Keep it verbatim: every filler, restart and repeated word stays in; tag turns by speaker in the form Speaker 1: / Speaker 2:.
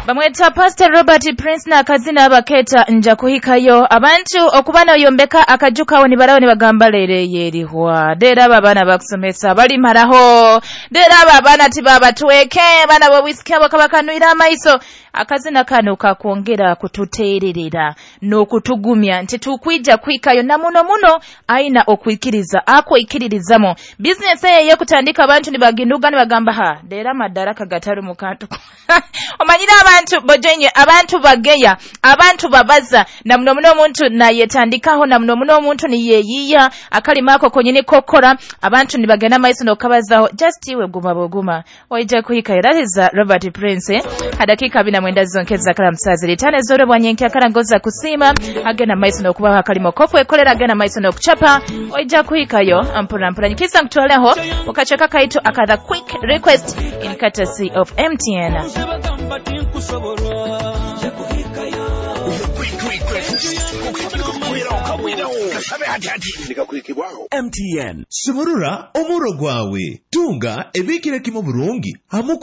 Speaker 1: Bamweta Pastor Robert Prince n'akazina abaketa nja kuhikayo. Abantu okuba noyombeka akaju kawe nibaraho nibagamba lere yerihwa dera aba abaana bakusomesa balimaraho dera aba abaana tibabatweke abaana bowisiki abo kabakanwira amaiso. Akazina kano kakwongera kututererera n'okutugumya nti tukwija kuhikayo, na muno muno aina okwikiriza akwikiririzamo business eye yokutandika. Abantu nibaginduga nibagamba ha dera madaraka gataru mukantu. Omanyire abantu bojenye, abantu bageya, abantu babaza, na muno muno omuntu nayetandikaho, na muno muno omuntu niyeyiya akalima ako konyini kokora, abantu nibagenda maiso nokabazaho. Just iwe guma buguma, waija kuhikayo. That is uh, Robert Prince, eh? Hadakika bina mwenda zonkeza kala msazi litane zore bwanyenki akala ngoza kusima agenda maiso nokubaho akalimo kofu ekolera agenda maiso nokuchapa, waija kuhikayo mpura mpura. Nyikisa nkutwaleho ukacheka kaitu akatha quick request in courtesy of M T N.
Speaker 2: Bagamba tinkusobola.
Speaker 3: M T N.
Speaker 4: Sumurura omuro gwawe, tunga ebikire kimu burungi hamukura.